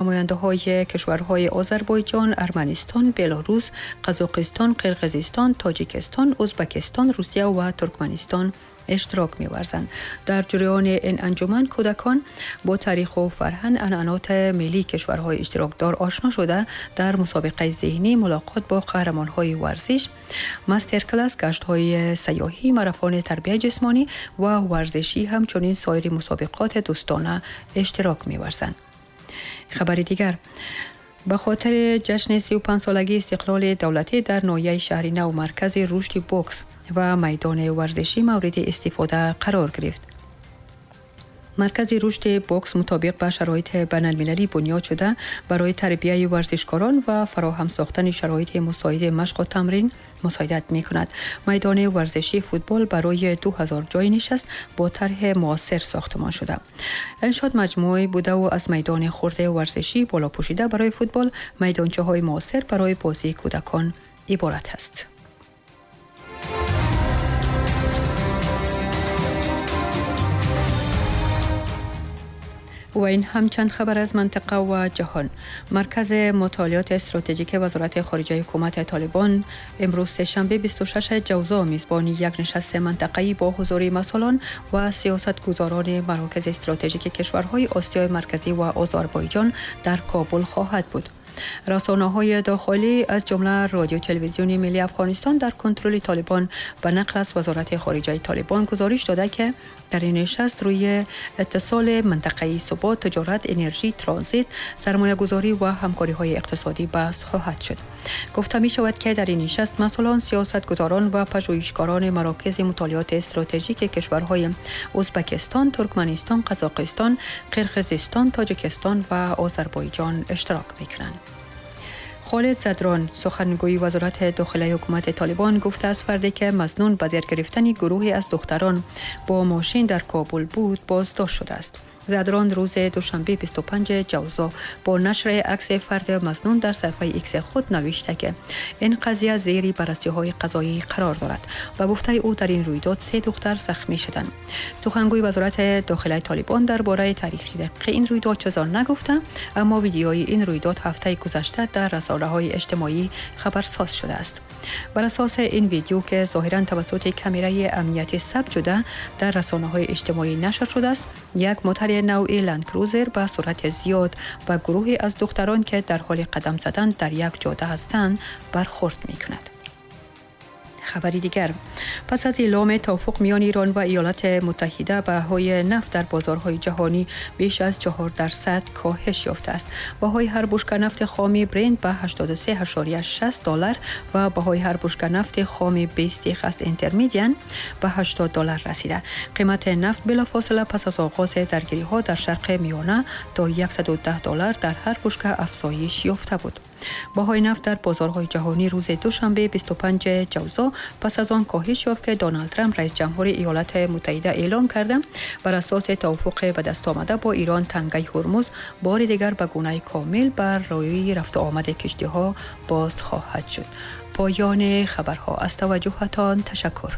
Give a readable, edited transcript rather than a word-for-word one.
نماینده‌های کشورهای آذربایجان، ارمنستان، بلاروس، قزاقستان، قرقیزستان، تاجیکستان، ازبکستان، روسیه و ترکمنستان اشتراک می‌ورزند. در جریان این انجمن کودکان با تاریخ و فرهنگ عنعنات ملی کشورهای اشتراکدار آشنا شده، در مسابقه ذهنی، ملاقات با قهرمان‌های ورزش، مستر کلاس، گشت‌های سیاحی، مارافون تربیت جسمانی و ورزشی، همچنین سایر مسابقات دوستانه اشتراک می‌ورزند. خبر دیگر، به خاطر جشن 35 سالگی استقلال دولتی در ناحیه شهر نو، مرکز رشد بوکس و میدان ورزشی مورد استفاده قرار گرفت. مرکز رشد بوکس مطابق به شرایط بین‌المللی بنیاد شده، برای تربیه ورزشکاران و فراهم ساختن شرایط مساعد مشق و تمرین مساعدت می‌کند. میدان ورزشی فوتبال برای 2000 جای نشست با طرح معاصر ساختمان شده. انشاءات مجموعه بوده و از میدان خرد ورزشی بالا پوشیده برای فوتبال، میدانچه‌های معاصر برای بازی کودکان عبارت است. و این هم چند خبر از منطقه و جهان. مرکز مطالعات استراتژیک وزارت خارجه حکومت طالبان امروز سه‌شنبه 26 جوزا میزبان یک نشست منطقه‌ای با حضور مسئولان و سیاستگزاران مراکز استراتژیک کشورهای آسیای مرکزی و آذربایجان در کابل خواهد بود. رسانه‌های داخلی از جمله رادیو تلویزیون ملی افغانستان در کنترل طالبان به نقل از وزارت خارجه طالبان گزارش داده که در این نشست روی اتصال منطقه‌ای، ثبات، تجارت، انرژی، ترانزیت، سرمایه‌گذاری و همکاری‌های اقتصادی بحث خواهد شد. گفته می‌شود که در این نشست مسئولان، سیاستگزاران و پژوهشگران مراکز مطالعات استراتژیک کشورهای ازبکستان، ترکمنستان، قزاقستان، قرقیزستان، تاجیکستان و آذربایجان اشتراک می‌کنند. خالد زدران، سخنگوی وزارت داخله حکومت طالبان، گفته است فردی که مظنون به زیر گرفتن گروهی از دختران با ماشین در کابل بود بازداشت شده است. زدران روز دوشنبه 25 جوزا با نشر عکس فرد مظنون در صفحه ایکس خود نوشته که این قضیه زیر بررسی‌های قضایی قرار دارد. و گفته او در این رویداد 3 دختر زخمی شدند. سخنگوی وزارت داخله طالبان درباره تاریخ دقیق این رویداد چیزی نگفته، اما ویدیوی این رویداد هفته گذشته در رسانه‌های اجتماعی خبرساز شده است. بر اساس این ویدیو که ظاهراً توسط کامرای امنیتی ثبت شده در رسانه‌های اجتماعی نشر شده است، یک موتر نوع لندکروزر به سرعت زیاد و گروهی از دختران که در حال قدم زدن در یک جاده هستند برخورد می‌کند. خبری دیگر، پس از اعلام توافق میان ایران و ایالات متحده، بهای نفت در بازارهای جهانی بیش از 4% کاهش یافته است. بهای هر بشکه نفت خام برنت به 83.60 دلار و بهای هر بشکه نفت خام 20 خست اینترمدین به 80 دلار رسیده. قیمت نفت بلافاصله پس از آغاز درگیری‌ها در شرق میانه تا 110 دلار در هر بشکه افزایش یافته بود. بهای نفت در بازارهای جهانی روز دوشنبه 25 جوزا پس از آن کاهش یافت که دونالد ترامپ رئیس جمهور ایالات متحده اعلام کرده بر اساس توافق به دست آمده با ایران تنگه هرمز بار دیگر به گونه کامل بر روی رفت و آمد کشتی‌ها باز خواهد شد. پایان خبرها. از توجهتان تشکر.